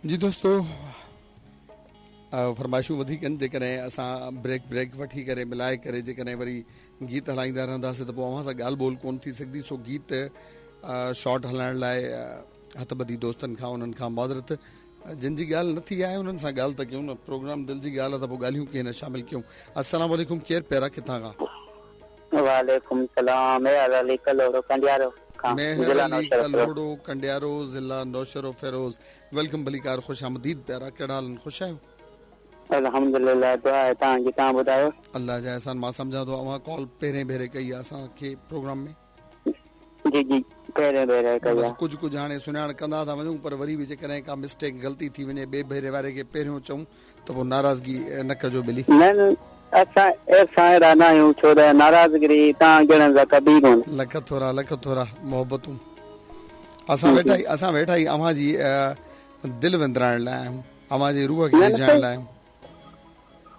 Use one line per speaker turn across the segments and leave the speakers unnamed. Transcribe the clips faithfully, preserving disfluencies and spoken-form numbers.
जी दोस्तो, फरमाइशूं वधीक आहिनि। जेकॾहिं असां ब्रेक ब्रेक वठी करे मिलाए करे जेकॾहिं वरी गीत हलाईंदा रहंदासीं त पोइ अव्हां सां ॻाल्हि ॿोल कोन थी सघंदी। सो गीत शॉर्ट हलाइण लाइ हथ ॿधी दोस्तनि खां उन्हनि खां माज़रत, जिन जी ॻाल्हि न थी आहे उन्हनि सां ॻाल्हि त कयूं न। प्रोग्राम दिलि जी ॻाल्हि आहे त पोइ ॻाल्हियूं कीअं न शामिल कयूं। अस्सलाम वालेकुम, केरु प्यारा, किथां खां?
वालेकुम सलाम, मेहर अली कलोड़ो कंडियारो खां,
मेहर अली कलोड़ो कंडियारो, ज़िला नौशहरो फेरोज़। Welcome, भलीकार, ख़ुश आमदीद प्यारा। कहिड़ा हाल आहिनि, ख़ुशि आहियो?
अल्हम्दुलिल्लाह, दुआ आहे तव्हांजी, तव्हां ॿुधायो?
अलाह जा एहसान। मां सम्झां थो अव्हां कॉल पहिरें भेरे कई आहे असांखे प्रोग्राम में।
जी जी, पहिरें भेरे कई आहे।
कुझु कुझु हाणे सुञाण कंदा था वञूं, पर वरी बि जेकॾहिं का मिस्टेक ग़लती थी वञे ॿिए भेरे वारे खे पहिरियों चऊं त पोइ नाराज़गी न कजो ॿिली।
न न, असां असां अहिड़ा न आहियूं, छो त नाराज़गिरी तव्हां जहिड़नि सां कभी कोन।
लख थोरा, लख थोरा, मोहबतूं। असां वेठा ई असां वेठा ई अव्हां जी दिलि विंदराइण लाइ आहियूं, अव्हां जे रूह खे रिझाइण लाइ आहियूं।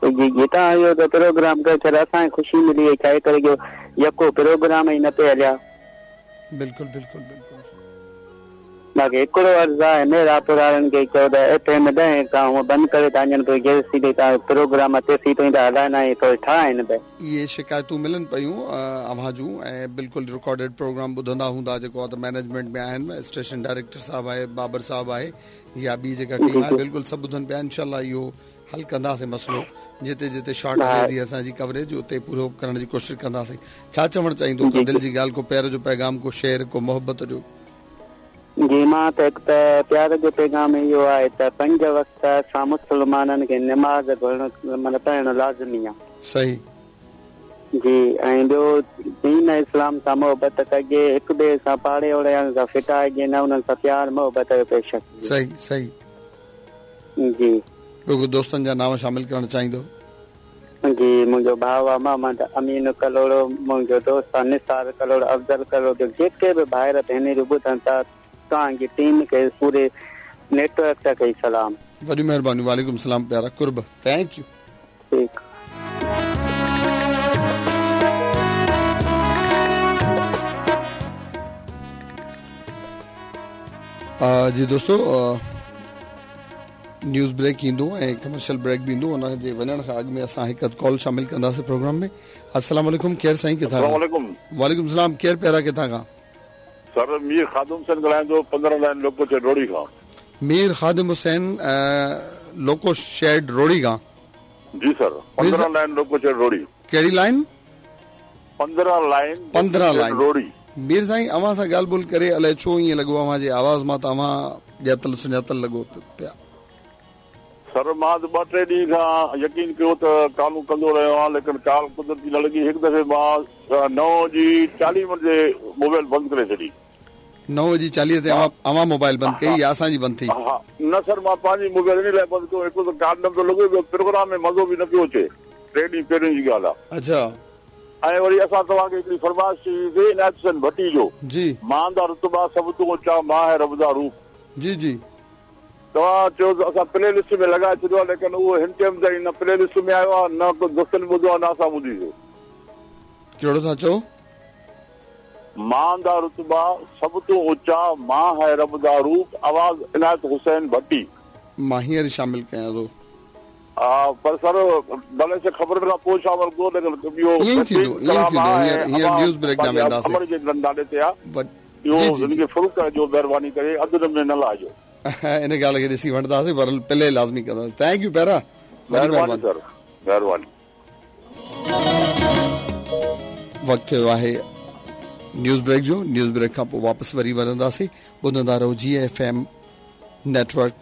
जी जी, तव्हां इहो त प्रोग्राम करे छॾियो, असांखे ख़ुशी मिली वई, छा करे जो यको प्रोग्राम ई न पे हलिया।
बिल्कुलु बिल्कुलु बिल्कुलु।
बाक़ी हिकिड़ो अर्ज़ु आहे मेहरापुर वारनि खे, चओ त एफ एम ॾहें खां हूअं बंदि करे था वञनि, पोइ जेसीं ताईं तव्हां प्रोग्राम तेसीं ताईं था हलाइंदा आहियूं, थोरो ठाहिनि पिया।
इहे शिकायतूं मिलनि पयूं अव्हां जूं ऐं बिल्कुलु रिकॉर्डेड प्रोग्राम ॿुधंदा हूंदा जेको आहे त मैनेजमेंट में आहिनि, स्टेशन डायरेक्टर साहिबु आहे, बाबर साहिबु आहे या ॿी जेका टीम आहे, बिल्कुलु सभु ॿुधनि पिया। इनशा इहो हल कंदासीं मसइलो, जिते जिते शॉर्ट हले थी असांजी कवरेज उते पूरो करण जी कोशिशि कंदासीं। छा चवणु चाहींदो, को दिलि जी ॻाल्हि, को प्यार जो पैगाम, को शेर, को मोहबत जो?
जी, मां त हिकु त प्यार जो पैगाम इहो आहे त पंज वक़्त असां मुसलमाननि खे नमाज़ पढ़णु माना पढ़णु लाज़मी आहे।
सही
जी। ऐं ॿियो दीन इस्लाम सां मोहबत कजे, हिक ॿिए सां पाड़े ओड़े सां फिटाइजे न, उन्हनि सां प्यार मोहबत जो पेश अचिजे।
सही सही
जी।
ॿियो दोस्तनि जा नाम शामिल करणु चाहींदो?
जी, मुंहिंजो भाउ आहे मोहम्मद अमीन कलोड़ो, मुंहिंजो दोस्त आहे निसार कलोड़ो, अफ़ज़ल कलोड़ो, जेके बि भाइर भेनरियूं ॿुधनि था, तव्हांजी टीम खे, पूरे नेटवर्क खे सलाम।
वॾी महिरबानी। वालेकुम सलाम प्यारा, कुर्ब, thank you.
ठीकु।
जी दोस्तो, न्यूज़ ब्रेक ईंदो ऐं कमर्शियल ब्रेक बि ईंदो, उन जे वञण खां अॻु में असां हिकु कॉल शामिल कंदासीं प्रोग्राम में। अस्सलाम वालेकुम, केरु साईं, किथां खां? वालेकुम सलाम, केरु प्यारा, किथां खां?
सर, मीर खादिम हुसैन ॻाल्हायां थो, पंद्रहं लाइन लोको शेड रोड़ी खां।
मीर खादिम हुसैन लोको शेड रोड़ी खां?
जी सर, पंद्रहं लाइन लोको शेड रोड़ी।
कहिड़ी लाइन?
पंद्रहं लाइन,
पंद्रहं लाइन
रोड़ी।
मीर साईं, अव्हां सां ॻाल्हि ॿोल करे अलाए छो ईअं लॻो, अव्हां जे आवाज़ मां त अव्हां ॼातल सुञातल लॻो पिया।
सर, मां त ॿ टे ॾींहं खां यकीन कयो त कॉलूं कंदो रहियो आहियां, लेकिन कॉल कुदरती न लॻी। हिकु दफ़े मां नौ जी चालीह मिंट ते मोबाइल बंदि करे छॾी।
नौ जी चालीह ते अव्हां मोबाइल बंदि कई या असांजी बंदि थी?
हा न सर, मां पंहिंजी मोबाइल इन लाइ बंदि कयो, हिकिड़ो त कॉल न पियो लॻे, ॿियो प्रोग्राम में मज़ो बि न पियो अचे। टे ॾींहं पहिरियों जी ॻाल्हि आहे।
अच्छा।
ऐं वरी असां तव्हांखे हिकिड़ी फरमाइश चई हुई इनायत हुसैन भट्टी जो,
जी,
मां दा रुतबा सभु तो ऊंचा, मां है रब दा रूप।
जी जी।
तव्हां चयो त असां प्ले लिस्ट में लॻाए छॾियो आहे, लेकिन उहो हिन टाइम ताईं न प्ले लिस्ट में आयो आहे, न को दोस्तनि ॿुधो आहे, न असां ॿुधीसीं।
कहिड़ो था चओ?
मां दा रुतबा सभु तो ऊंचा, मां है रब दा रूप, आवाज़ इनायत हुसैन भट्टी।
मां हींअर शामिल कयां थो।
हा, पर सर भले से ख़बर खां पोइ शामिल कयो, लेकिन इहो
ईअं ई थींदो, ईअं ई थींदो। हींअर हींअर न्यूज़ ब्रेक ॾांहुं वेंदासीं।
अमर जे नाले ते आहे, इहो हिन खे फुल करिजो, महिरबानी करे अधु में न लाहिजो।
इन ॻाल्हि खे ॾिसी वठंदासीं, पर प्ले लाज़मी कंदासीं। Thank you प्यारा,
महिरबानी सर, महिरबानी।
वक़्तु थियो आहे न्यूज़ ब्रेक जो। न्यूज़ ब्रेक खां पोइ वापसि वरी वञंदासीं। ॿुधंदा रहो जी एफ एम नेटवर्क।